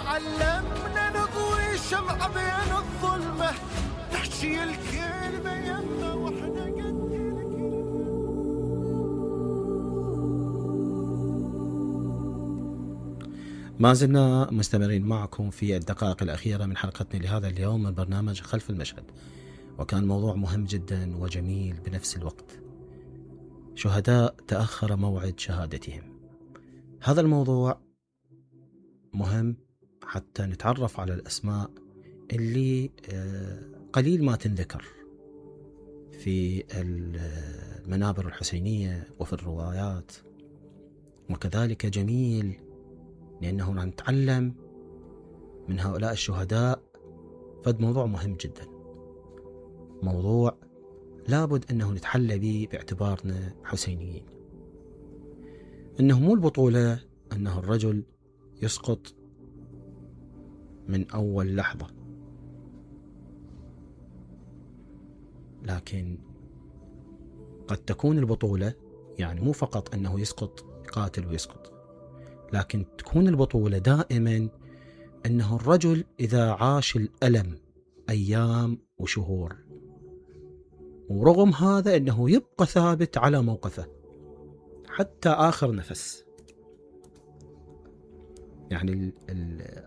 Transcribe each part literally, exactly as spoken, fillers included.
تعلمنا نضوي شمعة بين الظلمة، نحشي الكلمة يمنا واحنا قد ما زلنا مستمرين معكم في الدقائق الأخيرة من حلقتنا لهذا اليوم من برنامج خلف المشهد، وكان موضوع مهم جدا وجميل بنفس الوقت. شهداء تأخر موعد شهادتهم. هذا الموضوع مهم حتى نتعرف على الأسماء اللي قليل ما تنذكر في المنابر الحسينية وفي الروايات، وكذلك جميل لأنه نتعلم من هؤلاء الشهداء. فد موضوع مهم جدا، موضوع لابد أنه نتحلى به باعتبارنا حسينيين. أنه مو البطولة أنه الرجل يسقط من أول لحظة، لكن قد تكون البطولة يعني مو فقط أنه يسقط قاتل ويسقط، لكن تكون البطولة دائما أنه الرجل إذا عاش الألم أيام وشهور، ورغم هذا أنه يبقى ثابت على موقفه حتى آخر نفس. يعني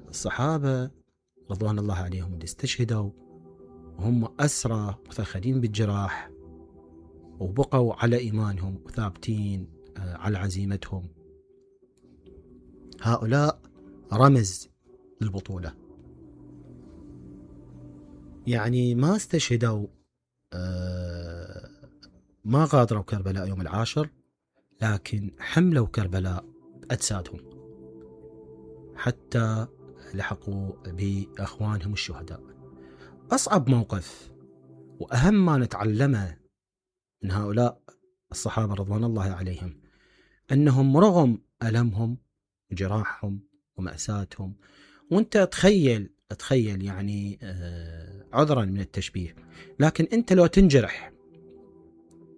الصحابة رضوان الله عليهم اللي استشهدوا وهم أسرى مثخلين بالجراح وبقوا على إيمانهم وثابتين على عزيمتهم، هؤلاء رمز للبطولة. يعني ما استشهدوا، ما غادروا كربلاء يوم العاشر، لكن حملوا كربلاء بأجسادهم حتى لحقوا بأخوانهم الشهداء. أصعب موقف وأهم ما نتعلمه من هؤلاء الصحابة رضوان الله عليهم أنهم رغم ألمهم وجراحهم ومأساتهم، وانت تخيل تخيل يعني عذرا من التشبيه، لكن انت لو تنجرح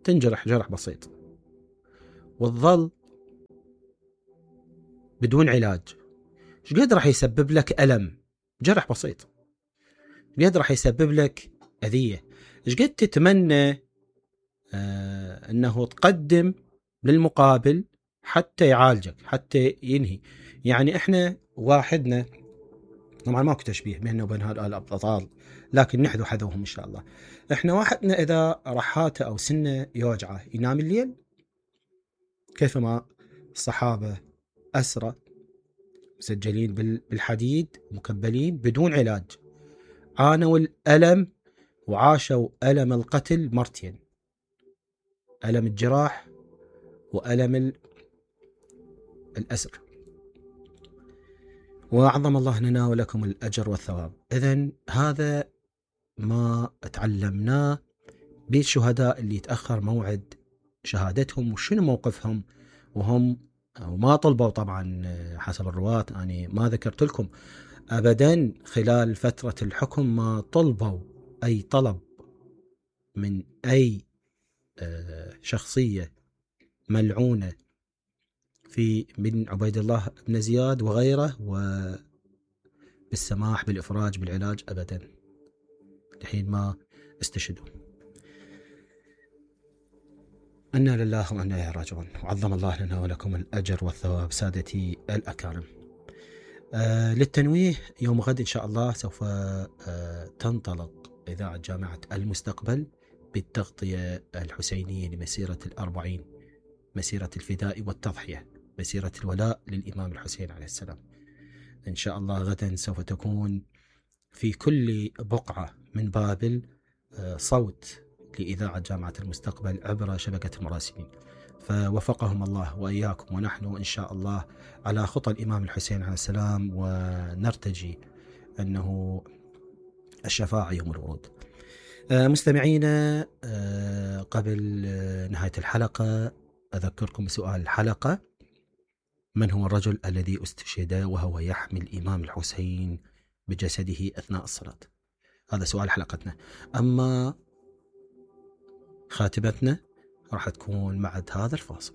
تنجرح جرح بسيط والظل بدون علاج، ايش قد راح يسبب لك ألم؟ جرح بسيط ايش قد راح يسبب لك أذية؟ ايش قد تتمنى آه انه تقدم للمقابل حتى يعالجك حتى ينهي. يعني احنا واحدنا، طبعا ماكو تشبيه بيننا وبين هؤلاء الابطال، لكن نحذو حذوهم ان شاء الله. احنا واحدنا اذا رحاته او سنه يوجعه ينام الليل، كيفما الصحابه اسرى مسجلين بالحديد مكبلين بدون علاج، عانوا الالم وعاشوا الم القتل مرتين، الم الجراح والم الاسر. وأعظم الله لنا ولكم الأجر والثواب. إذن هذا ما تعلمناه بالشهداء اللي يتأخر موعد شهادتهم وشنو موقفهم، وهم وما طلبوا طبعا حسب الرواة. أنا ما ذكرت لكم أبدا خلال فترة الحكم ما طلبوا أي طلب من أي شخصية ملعونة في من عبيد الله بن زياد وغيره وبالسماح بالإفراج بالعلاج أبدا لحين ما استشهدوا. أنا لله وأنا إليه راجعون، وعظم الله لنا ولكم الأجر والثواب سادتي الأكارم. آه للتنويه، يوم غد إن شاء الله سوف آه تنطلق إذاعة جامعة المستقبل بالتغطية الحسينية لمسيرة الأربعين، مسيرة الفداء والتضحية، مسيرة الولاء للإمام الحسين عليه السلام. إن شاء الله غدا سوف تكون في كل بقعة من بابل صوت لإذاعة جامعة المستقبل عبر شبكة المراسلين، فوفقهم الله وإياكم، ونحن إن شاء الله على خطى الإمام الحسين عليه السلام، ونرتجي أنه الشفاعة يوم الورود. مستمعينا، قبل نهاية الحلقة أذكركم بسؤال الحلقة: من هو الرجل الذي استشهد وهو يحمل الإمام الحسين بجسده أثناء الصلاة؟ هذا سؤال حلقتنا. أما خاتمتنا راح تكون بعد هذا الفاصل.